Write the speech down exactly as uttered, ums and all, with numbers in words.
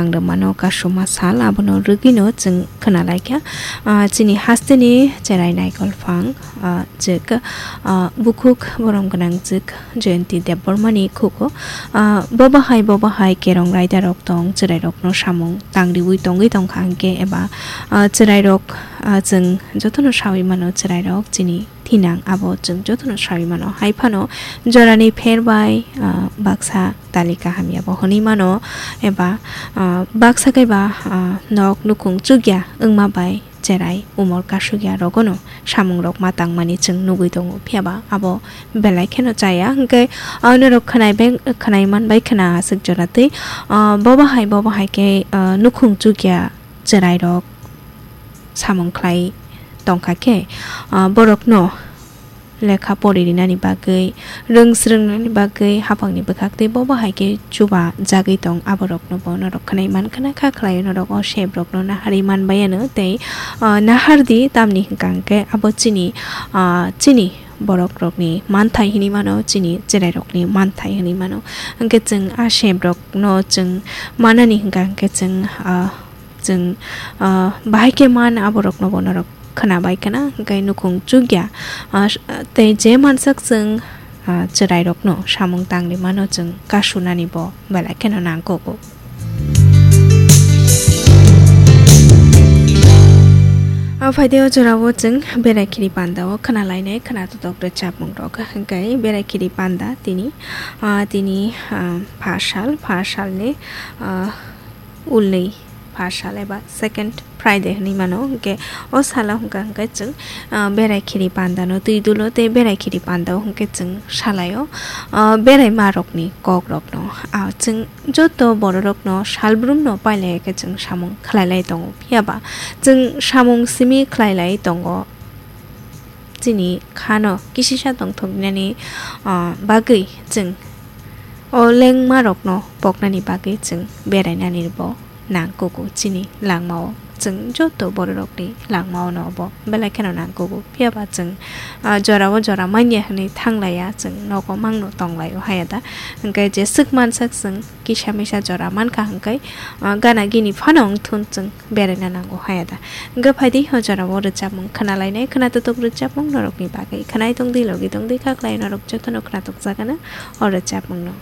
Ang rwmano kasuma sal, abono rwgwino chwng khwnalaikha. Ah, chini hasteni cherai naikol phang, ah, jwk, ah, bukhuk borom gwnang jwk Jayanti Debbarmani khugo. Ah, bo bahai, bo bahai kerong raidarok tong, chwrairokno samung tangriwi tongwi tongkha hwnkhe eba, ah, chwrairok, ah, chwng jotono sawi mano chwrairok chini thinang abo chwng jotono sawi mano. Hai phano jorani pher bai, ah, baksa talika hamya bo hwnwi mano, eba, ah, baksa kaiba, ah, nok nukhung chukya wngma bai cherai umor kasukya rogono samungrok ma tangmani chwng nugwi tongo, phiyaba abo belai kheno chaya. Hwnkhe, ah, norok khwnai bai, khwnai man bai khwna aswk jora twi, ah, bo bahai, bo bahai khe, ah, nukhung chukya chwrairok samung khlai tongkha khe, ah, borokno lekha pori rinani bagwi, rwng swrwngnani bagwi haphangni bwkhak tei bo bahai khe chuba jagwi tong, aborokno bo norok khwnai mankha na kha khlaio, norok o sebrokno naharwi manbai ano tei, ah, nahardi tamni hwnkha hwnkhe abo chini, ah, chini borokrokni manthai hinwi mano, chini chwrairokni manthai hinwi mano. Hwnkhe chwng a sebrokno chwng manani hwnkha hwnkhe chwng, ah, chwng, ah, bahai khe man aborokno bo norok khwnabai khwna, hwnkhe nukhung chukya, ah, tei je mansak chwng, ah, chwrairokno samung tangri mano chwng kasunani bo belai kheno nangkugo. Ah, phaidi o jorao chwng berai khiri panda o khwnalainai khwnatotok rwchapmung rok, hwnkhe berai khiri panda tini, ah, tini, ah, pha sal, pha salni, ah, ulni pha sal eba second Friday hinwi mano, hwnkhe o salo hwnkha hwnkhe chwng, ah, berai khiri pandano twi dulo tei berai khiri pandao hwnkhe chwng salaio, ah, berai ma rokni kok rokno, ah, chwng joto bororokno salbrumno pailai khe chwng samung khlailai tongo, phiyaba chwng samung simi khlailai tongo. Chini khano kisisa tongthoknani, ah, bagwi chwng o lengmarokno poknani bagwi chwng berainani bo nangkugo chini langmao. Chwng joto bororokni langmao no bo belai kheno nangkugo. Phiyaba chwng, ah, jorao jora manya hwnwi thanglaiya, chwng nogo mangno tonglaio haya da. Hwnkhe jeswk mansak chwng kisa misa jora mankha hwnkhe, ah, gana gini phano wngthun chwng beraina nango haya da. Hwnkhe phaidi o jorao rwchapmung khwnalainai, khwnatotok rwchapmung norokni bagwi khwnai tongdi, logi tongdi, khaklai norok jotono khwnatok jagano o rwchapmungno.